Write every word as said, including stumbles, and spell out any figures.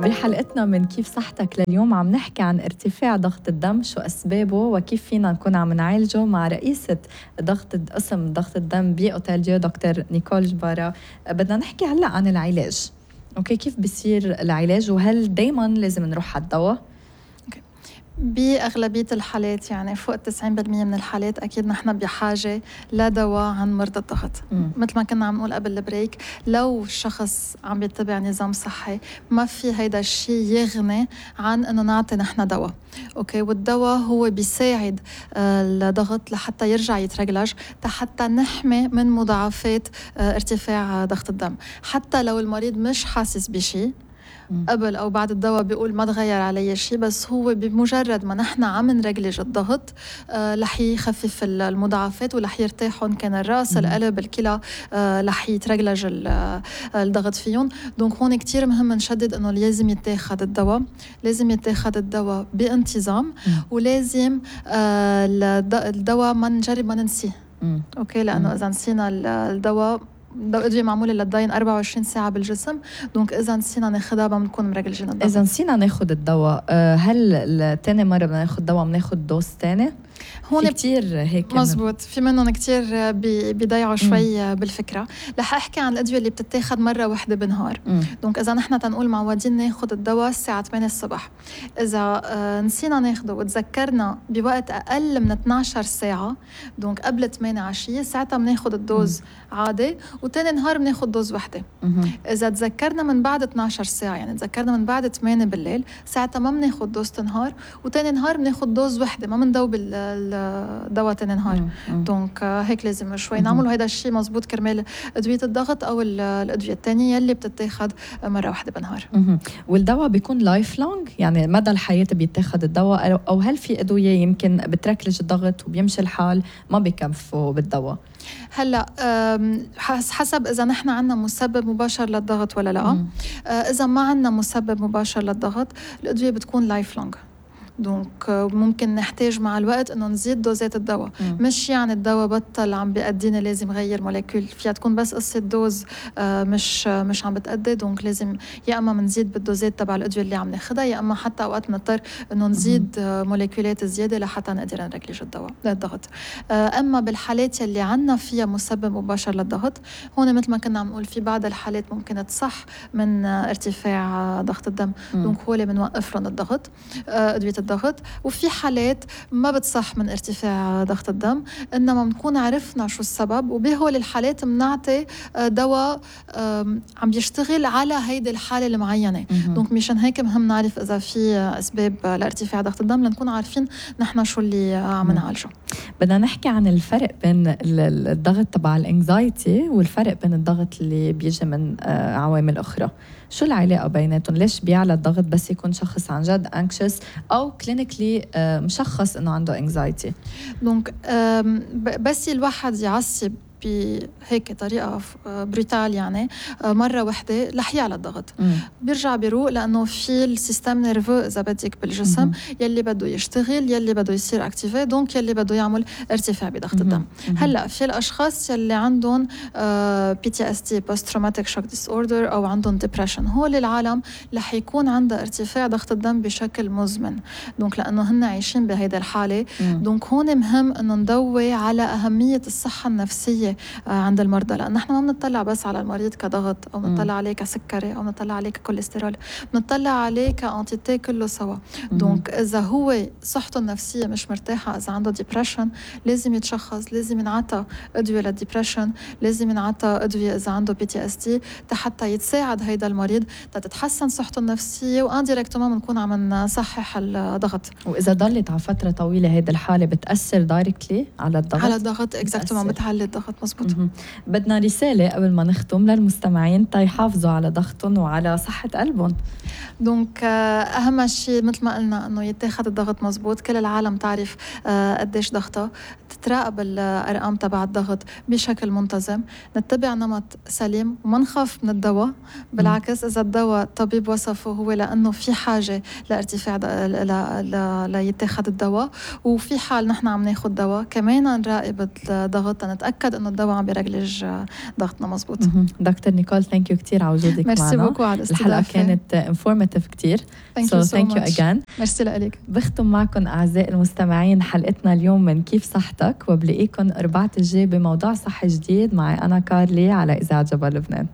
بحلقتنا من كيف صحتك لليوم عم نحكي عن ارتفاع ضغط الدم، شو أسبابه وكيف فينا نكون عم نعالجه مع رئيسة ضغط قسم ضغط الدم بأوتيل ديو دكتور نيكول جبارة. بدنا نحكي هلأ عن العلاج. أوكي، كيف بيصير العلاج وهل دايما لازم نروح على الدواء؟ بأغلبية الحالات يعني فوق تسعين بالمية من الحالات أكيد نحن بحاجة لدواء عن مرضى الضغط. مم. مثل ما كنا عم نقول قبل البريك، لو الشخص عم يتبع نظام صحي ما في هيدا الشيء يغني عن أنه نعطي نحن دواء. أوكي، والدواء هو بيساعد آه الضغط لحتى يرجع يترجلج، حتى نحمي من مضاعفات آه ارتفاع ضغط الدم. حتى لو المريض مش حاسس بشيء قبل أو بعد الدواء بيقول ما تغير علي شيء، بس هو بمجرد ما نحن عم نرجلج الضغط آه رح يخفف المضاعفات ورح يرتاحون، كان الرأس مم. القلب الكلى آه رح يترجلج الضغط فيهم. دونك هون كتير مهم نشدد انه لازم يتاخد الدواء، لازم يتاخد الدواء بانتظام مم. ولازم آه الدواء ما نجرب ما ننسيه. مم. اوكي، لانه مم. اذا نسينا الدواء الأدوية معمولة للداين أربعة وعشرين ساعة بالجسم، دونك إذا نسينا ناخدها بنكون مرجلجين الضغط. إذا نسينا ناخد الدواء، هل تاني مرة بدنا ناخد دواء بناخد دوز تاني؟ هون كتير هيك مزبوط، في منهم كتير بيضيعوا شوي مم. بالفكرة. رح أحكي عن الأدوية اللي بتتاخد مرة واحدة بالنهار. دونك إذا نحن تنقول معودين ناخد الدواء الساعة ثمانية الصبح، إذا آه نسينا ناخده وتذكرنا بوقت أقل من اثنعش ساعة، دونك قبل ثمانية عشية، ساعتها بناخد الدوز مم. عادي، وتاني نهار بناخد دوز وحدة. مم. إذا تذكرنا من بعد اثنعش ساعة، يعني تذكرنا من بعد ثمانية بالليل، ساعتها ما بناخد دوز نهار، وتاني نهار بناخد دوز وحدة، ما بندوب الدواء تاني نهار. دونك هيك لازم شوي نعملوا هيدا الشيء مزبوط كرمال أدوية الضغط أو الأدوية التانية يلي بتتاخد مرة واحدة بالنهار. والدواء بيكون لايف لونج، يعني مدى الحياة بيتاخد الدواء، أو هل في أدوية يمكن بتركلج الضغط وبيمشي الحال ما بيكفوا بالدواء؟ هلا حسب اذا نحن عندنا مسبب مباشر للضغط ولا لا. مم. اذا ما عندنا مسبب مباشر للضغط الادويه بتكون لايف لونج، دونك ممكن نحتاج مع الوقت انه نزيد دوزات الدواء. مم. مش يعني الدواء بطل عم بيأدينا لازم غير موليكول، فيها تكون بس قصه دوز مش مش عم بتأدي، دونك لازم يا اما بنزيد بالدوزات تبع الادويه اللي عم ناخذها، يا اما حتى اوقات بنضطر انه نزيد مم. موليكولات زياده لحتى نقدر نركلج الدواء للضغط. اما بالحالات اللي عندنا فيها مسبب مباشر للضغط، هون مثل ما كنا عم نقول في بعض الحالات ممكن تصح من ارتفاع ضغط الدم، مم. دونك هو اللي بنوقف لهم الضغط ادويه الضغط. وفي حالات ما بتصح من ارتفاع ضغط الدم، إنما بنكون عرفنا شو السبب، وبهول الحالات بنعطي دواء عم بيشتغل على هيدي الحالة المعينة. دونك مشان هيك مهم نعرف إذا في أسباب لارتفاع ضغط الدم لنكون عارفين نحن شو اللي عم نعالجه. بدنا نحكي عن الفرق بين الضغط تبع الانكزايتي والفرق بين الضغط اللي بيجي من عوامل أخرى. شو العلاقة بيناتهم؟ ليش بيعلى الضغط بس يكون شخص عن جد anxious أو كلينيكلي مشخص إنه عنده anxiety؟ دونك بس الواحد يعصب بهيك طريقة بروتال يعني مرة واحدة رح يعلى الضغط. مم. بيرجع بيروق، لأنه في السيستم نيرفو إذا بدك بالجسم مم. يلي بده يشتغل، يلي بده يصير اكتيفي، دونك يلي بده يعمل ارتفاع بضغط مم. الدم. مم. هلا في الأشخاص يلي عندهم بي تي اس تي post traumatic shock disorder أو عندهم depression، هول العالم رح يكون عندها ارتفاع ضغط الدم بشكل مزمن، دونك لأنه هن عايشين بهيدا الحالة. مم. دونك هون مهم إنه نضوي على أهمية الصحة النفسية عند المرضى، لأن نحن ما بنطلع بس على المريض كضغط أو بنطلع عليه كسكري أو بنطلع عليه ككوليسترول، بنطلع عليه كأنتيتي كله سوا. دونك إذا هو صحته النفسية مش مرتاحة، إذا عنده ديبريشن لازم يتشخص، لازم ينعطى أدوية للديبريشن، لازم ينعطى أدوية إذا عنده بي تي اس تي حتى يتساعد هيدا المريض تتحسن صحته النفسية، وانديركتوما بنكون عم نصحح الضغط. وإذا ضلت على فترة طويلة هيدا الحالة بتأثر دايركتلي على الضغط؟ على الضغط اكزاكتوما، بتعلي الضغط. مزبوط. بدنا رسالة قبل ما نختم للمستمعين تيحافظوا على ضغطهم وعلى صحة قلبهم. دونك أهم شيء مثل ما قلنا إنه يتاخد الضغط مزبوط، كل العالم تعرف قديش ضغطها، تتراقب الأرقام تبع الضغط بشكل منتظم، نتبع نمط سليم وما نخاف من الدواء. بالعكس إذا الدواء الطبيب وصفه هو لأنه في حاجة لارتفاع ليتاخد الدواء، وفي حال نحن عم ناخد دواء كمان نراقب الضغط نتأكد إنه الدواء عم بيرجلج ضغطنا مزبوط. دكتور نيكول ثانك يو كثير على وجودك معنا. ميرسي بوكو على الاستضافة. الحلقة كانت انفورماتيف كثير. ثانك يو سو ماتش. again. ميرسي لك. بختم معكم أعزائي المستمعين حلقتنا اليوم من كيف صحتك، وبلاقيكم أربعة الجاي بموضوع صحي جديد معي أنا كارلي على إذاعة جبل لبنان.